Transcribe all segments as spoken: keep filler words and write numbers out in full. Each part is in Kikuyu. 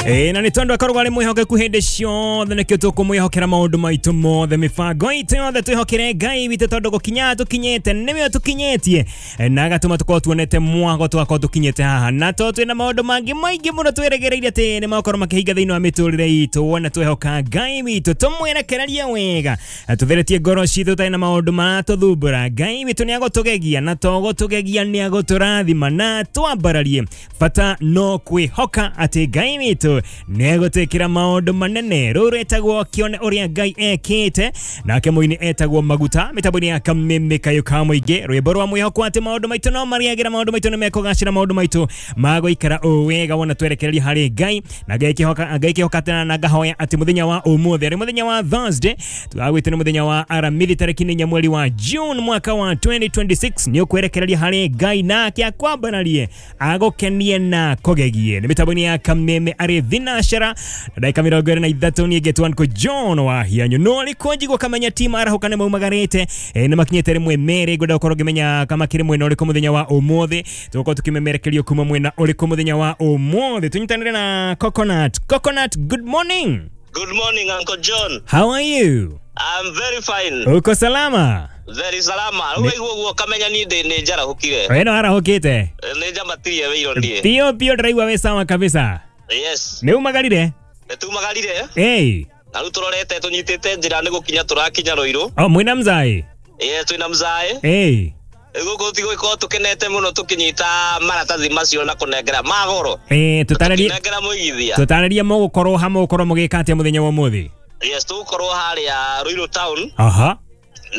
Ĩ na nĩ tondũ akoragwo arĩ mwĩhokeku hĩndĩ ciothe, nĩkĩo tũkũmwĩhokera maũndũ maitũ mothe, mĩbango itũ yothe twĩhokere Ngai witũ, tondũ gũkinya tũkinyĩte nĩwe tũkinyĩtie na agatũma tũkorwo tuonete mwago tũgakorwo tũkinyĩte haha, na to twĩna maũndũ mangĩ maingĩ mũno twĩrĩgĩrĩire atĩ nĩ magokorwo makĩhinga thĩinĩ wa mĩtũrĩre itũ. Wona twehoka Ngai witũ, tũmwerekererie wega, tũtheretie ngoro citũ tũtarĩ na maũndũ maratũthumbũra, Ngai witũ nĩ agũtũgegia, na to gũtũgegia nĩ agũtũrathima na twambararie. Bata no kwĩhoka atĩ Ngai witũ nĩ egũtwĩkĩra maũndũ manene. Rũrũ rwĩtagwo kĩone ũrĩa Ngai ekĩte, nake mũini etagwo Maguta, mĩtambo-inĩ ya Kameme Kayũ ka Mũingĩ, rwĩmbo rwa mwĩhoko atĩ maũndũ maitũ no marĩagĩra, maũndũ maitũ nĩ mekũgacĩra, maũndũ maitũ magũikara o wega wona twerekereria harĩ Ngai. Na ngekĩhoka ngekĩhoka tena na ngahoya atĩ mũthenya wa ũmũthĩ arĩ mũthenya wa Thursday, tũgagwĩte nĩ mũthenya wa Aramithi tarĩki nĩ inya mweri wa June mwaka wa twenty twenty-six, nĩ ũkwerekereria harĩ Ngai nake akwambararie, agũkenie na kũgegie. Nĩ mĩtambo-inĩ ya Kameme arĩ thinashara na ndagĩka mĩrongo ĩrĩ na ithatũ, niĩ ngetwo Uncle John wa Hianyu. No rĩko njigua kamenya team arahũka nĩ maumagarĩte, nĩ makinyĩte rĩmwe merĩ, ngwenda gũkorwo ngĩmenya kama kĩrĩ mwena ũrĩkũ mũthenya wa ũmũthĩ, tũgũkorwo tũkĩmemerekerio kuma mwena ũrĩkũ mũthenya wa ũmũthĩ. Tũnyitanĩre na Coconut. Coconut, good morning. Good morning, Uncle John. How are you? I'm very fine. Uko salama? Very salama. Rĩu ũguo kamenya ni ndĩ nĩ njarahũkire. We no arahũkĩte? Nĩ njamatirie wĩiro ndiĩ. Pio pio ndĩraigua wĩ sawa kabisa. Yes. Nĩ umagarire? Nĩ tumagarire. Hey. Na rĩu tũrorete tũnyitĩte njĩra nĩ gũkinya tũrakinya Rũirũ. Oh, mwĩna mzai? Yes, twĩna mzai. Hey. Gũkũ tigũkorwo tũkenete mũno tũkĩnyita maratathi macio na kũnengera magoro. Eh, tũtarĩrie tũkĩnengera mũigithia. Tũtarĩrie mũgũkorwo ha mũgũkorwo mũgĩka atĩa mũthenya wa ũmũthĩ? Yes, tũgũkorwo harĩa Ruiru town. Aha.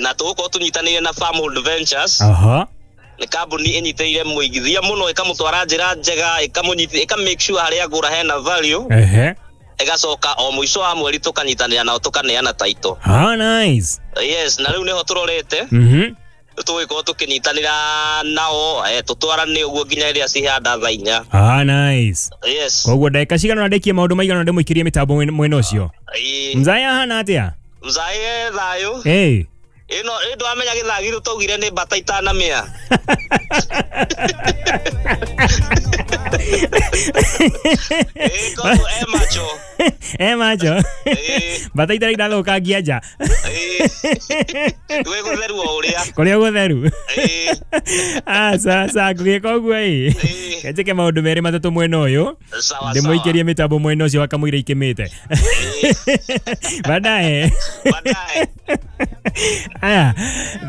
Na tũgũkorwo tũnyitanĩire na Farmhold Ventures. Aha. Nĩ kambuni ĩnyitĩrĩire mũigithia mũno, ĩkamũtwara njĩra njega, ĩkamũnyiti, ĩka make sure harĩa agũra hena value. Ehe. Ĩgacoka o mũico wa mweri tũkanyitanĩra nao tũkaneana title. Ah, nice. Yes, na rĩu nĩho tũrorete. Mhm. Tũgũkorwo tũkĩnyitanĩra nao, eh, tũtwarane ũguo nginya rĩrĩa cihanda thaa inya. Ah, nice. Yes. Koguo ndagĩka cigana ũna ndĩkie maũndũ maigana ũna ndĩmũikĩrie mĩtambo mwena ũcio? Mzai ahana atĩa? Mzai e thayũ. Hey. Ĩno ĩ ndwamenya gĩthagiro twaugire nĩ mbata itanamĩa. Ĩ koguo e macho. E macho. Mbata itarĩ irathũkangia nja. Gwĩ gũtheru o ũrĩa. Kũrĩa gũtheru. Aca aca ngũgĩka ũguo ĩ. Kenjĩke maũndũ merĩ matatũ mwena ũyũ. Ndĩmũikĩrie mĩtambo mwena ũcio wakamũira ikĩmĩte. Baadaye. Baadaye. Aya,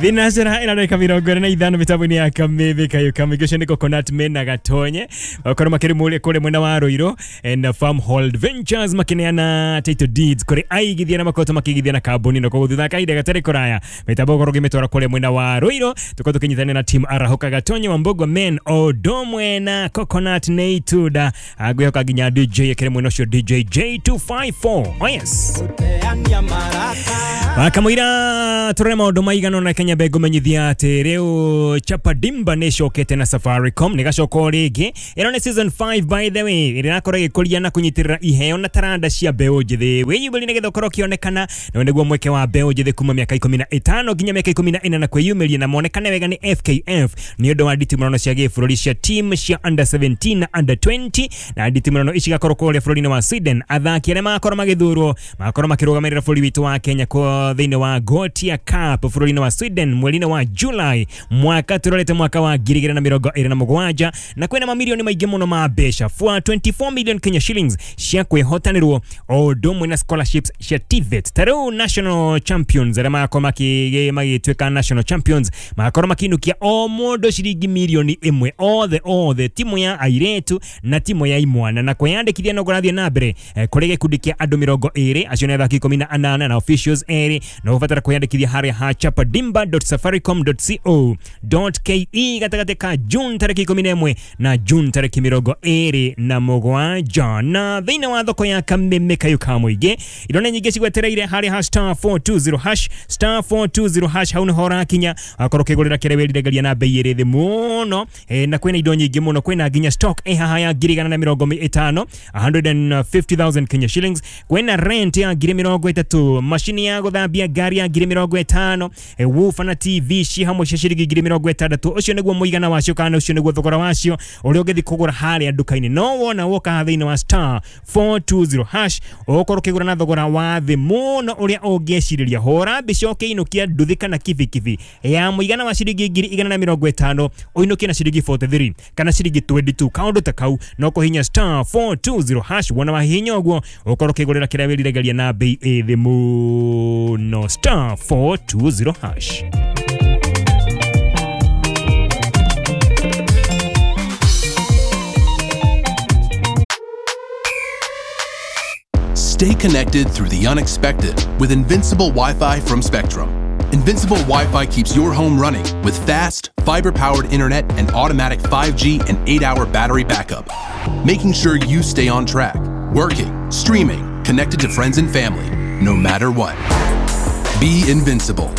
thinacera ĩna ndagĩka mĩrongo ĩrĩ na ithano mĩtambo-inĩ ya Kameme Kayũ ka Mũingĩ. Ũcio nĩ Coconut mena Gatonye, bakorwo makĩrĩ kũrĩa mwena wa Ruiru na Farmhold Ventures makĩneana title deeds kũrĩ aigithia na makoretwo makĩigithia na kambuni, na koguo thutha kahinda gatarĩ kũraya mĩtambo ũkorwo ũkĩmĩtwara kũrĩa mwena wa Ruiru, tũkorwo tũkĩnyitanĩra na team Arahũka Gatonye wa Mbogwa men Odomwe na Coconut nĩ itunda, ngwĩhoka nginya D J ĩkĩrĩ mwena ũcio D J J two five four. Oh yes. Akamũira tũrore maũndũ maigana ũna Kenya be ngũmenyithia atĩ rĩu Chapa Dimba nĩ ĩcokete na Safaricom, nĩ gacoka o rĩngĩ. Ĩno nĩ season five by the way, ĩrĩa ĩrakorwo ĩgĩkũria na kũnyitĩrĩra iheo na taranda cia mbeũ njĩthĩ. Wĩyumĩrie nĩgetha ũkorwo ũkĩonekana, na nĩguo mweke wa mbeũ njĩthĩ kuma mĩaka ikũmi na ĩtano nginya mĩaka ikũmi na ĩna na kwĩyumĩria na monekane wega nĩ F K F nĩ ũndũ wa nditimũrano cia gĩbũrũri cia team cia under seventeen na under twenty, na nditimũrano ici igakorwo kũrĩa bũrũri-inĩ wa Sweden. Athaki arĩa magakorwo magĩthurwo magakorwo makĩrũgamĩrĩra bũrũri witũ wa Kenya kwa thĩinĩ wa Gothia Cup bũrũri-inĩ wa Sweden mweri-inĩ wa July mwaka tũrorete mwaka wa ngiri igĩrĩ na mĩrongo ĩrĩ na mũgwanja, na kwĩna mamirioni maingĩ mũno ma mbeca for twenty-four million Kenya shillings cia kwĩhotanĩrwo o ũndũ ũmwe na scholarships cia T V E T. Ta rĩu national champions arĩa magakorwo magĩtuĩka national champions magakorwo makĩinũkia o mũndũ ciringi mirioni ĩmwe othe othe, timu ya airĩtu na timu ya imwana, na kwĩyandĩkithia no kũrathiĩ na mbere kũrĩ gĩkundi kĩa andũ mĩrongo ĩrĩ, acio nĩ athaki ikũmi na anana na officials erĩ, na ũbatara kwĩyandĩkithia harĩa ha chapadimba dot safaricom dot co dot ke gatagatĩ ka June tarĩki ikũmi na ĩmwe na June tarĩki mĩrongo ĩrĩ na mũgwanja. Na thĩinĩ wa thoko ya Kameme Kayũ ka Mũingĩ indo nĩ nyingĩ cigwetereire harĩa ha star four two zero hash, star four two zero hash, hau nĩho ũrakinya akorwo ũkĩgũrĩra kĩrĩa wĩriragĩria na bei ĩrĩ thĩ mũno, na kwĩna indo nyingĩ mũno, kwĩna nginya stock ĩ haha ya ngiri igana na mĩrongo ĩtano, a hundred and fifty thousand Kenya shillings, kwĩna rent ya ngiri mĩrongo ĩtatũ, macini ya gũthambia ngari ya ngiri mĩrongo ĩtano, woofer na T V ci hamwe cia ciringi ngiri mĩrongo ĩtandatũ. Ũcio nĩguo mũigana wacio kana ũcio nĩguo thogora wacio ũrĩa ũngĩthiĩ kũgũra. kũgũra harĩa nduka-inĩ. No wona woka thĩinĩ wa star four two zero hash ũgũkorwo ũkĩgũra na thogora wa thĩ mũno ũrĩa ũngĩcirĩria. Hũra mbica ũkĩinũkia nduthi kana kibikibi ya mũigana wa ciringi ngiri igana na mĩrongo ĩtano ũinũkie na ciringi forty three kana ciringi twenty two kaũndũ ta kau. No kũhihinya star four two zero hash wona wahihinya ũguo ũkorwo ũkĩgũrĩra kĩrĩa wĩriragĩria na bei ĩ thĩ mũno. Star four two zero hash. Stay connected through the unexpected with Invincible Wi-Fi from Spectrum. Invincible Wi-Fi keeps your home running with fast, fiber-powered internet and automatic five G and eight hour battery backup, making sure you stay on track, working, streaming, connected to friends and family, no matter what. Be invincible.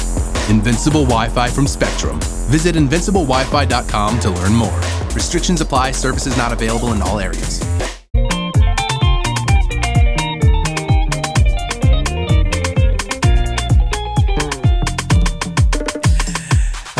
Invincible Wi-Fi from Spectrum. Visit invincible wifi dot com to learn more. Restrictions apply. Services not available in all areas.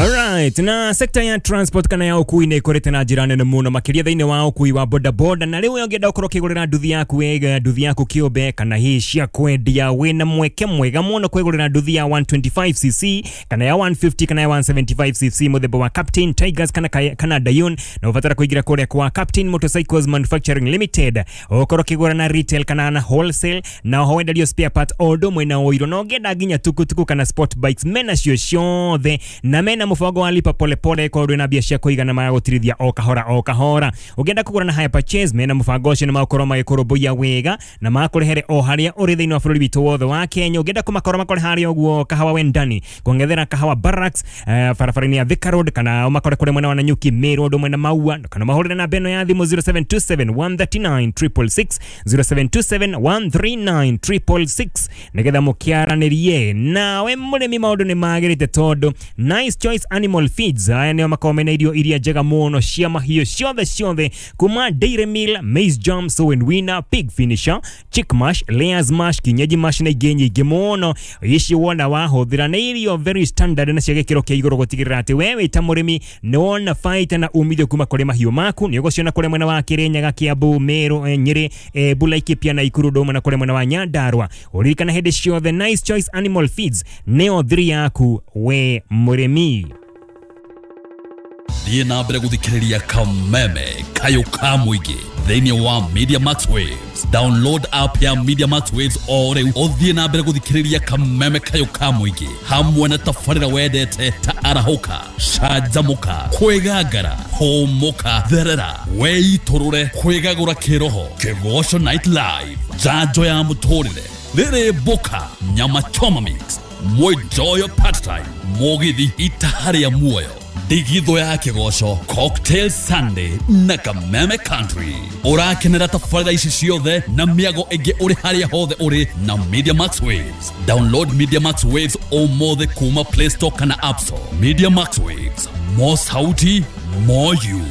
Alright, na sekta ya transport kana ya ukui nĩ ĩkũrĩte na njĩra nene mũno makĩria thĩinĩ wa ukui wa boda boda. Na rĩu ũngĩenda ũkorwo ũkĩgũrĩra nduthi yaku wega, nduthi yaku kĩũmbe kana hihi cia kwendia, wĩna mweke mwega mũno kwĩgũrĩra nduthi ya one twenty five c c kana ya one fifty kana ya one seventy five c c mũthemba wa Captain Tigers kana kana Dayun, na ũbatara kũingĩra kũrĩa kwa Captain Motorcycles Manufacturing Limited ũkorwo ũkĩgũra na retail kana na wholesale, na oho wenderio spare parts o ũndũ ũmwe na ũiro, na ũngĩenda nginya tukutuku kana sport bikes mena cio ciothe, na mena mũbango wa lipa pole pole kwa ndwina mbia cia kũigana magũtirithia o kahora o kahora. Ũngĩenda kũgũra na hire purchase mena mũbango ũcio nĩ magũkorwo magĩkũrũmbũiya wega na makũrehere o harĩa ũrĩ thĩinĩ wa bũrũri witũ wothe wa Kenya. Ũngĩenda kũmakora makore harĩa ũguo Kahawa Wendani kuongethera Kahawa Barracks eh, barabara-inĩ ya Thika Road, kana ũmakore kũrĩa mwena wa Nanyuki Meru ũndũ mwena Maua, kana mahũrĩre namba ĩno ya thimũ zero seven two seven one three nine triple six zero seven two seven one three nine triple six nĩgetha mũkĩaranĩrie. Nawe mũrĩmi maũndũ nĩ magĩrĩte tondũ Nice Choice Animal Feeds aya nĩo makoragwo mena irio iria njega mũno cia mahiũ ciothe ciothe kuma Dairy Meal, Maize Jam, Sow and Winner, Pig Finisher, Chick Mash, Layers Mash, Kienyeji Mash na ingĩ nyingĩ mũno. Ici wona wahũthĩra nĩ irio very standard na cia gĩkĩro kĩa igũrũ gũtigĩrĩra atĩ we wĩ ta mũrĩmi nĩ wona baita na umithio kuma kũrĩ mahiũ maku. Nĩ ũgũciona kũrĩ mwena wa Kĩrĩnyaga, Kiambu, Meru, Nyĩrĩ, Embu, Laikipia na Ikuru, Ndũma na kũrĩ mwena wa Nyandarua. Ũririkana hĩndĩ ciothe Nice Choice Animal Feeds nĩyo thiri yaku we mũrĩmi. Thiĩ na mbere gũthikĩrĩria Kameme Kayũ ka mũingĩ thĩinĩ wa Media Max Waves. Download app ya Media Max Waves o rĩu ũthiĩ na mbere gũthikĩrĩria Kameme Kayũ ka mũingĩ hamwe na tabarĩra wendete ta arahũka, canjamũka, kwĩgangara, hũmũka, therera, weitũrũre, kwĩgagũra kĩroho, Kĩgoco Night Live, njanjo ya mũtũrĩre, rĩrĩ mboka, nyama choma mix, mwenjoyo part time, mũgithi itaha rĩa muoyo, ndigitho ya kĩgoco, Cocktail Sunday na Kameme Country. Ũrakenera tabarĩra ici ciothe na mĩago ĩngĩ ũrĩ harĩa hothe ũrĩ na Media Max Waves. Download Media Max Waves ũmũthĩ kuma Play Store kana App Store. Media Max Waves, more sauti, more you.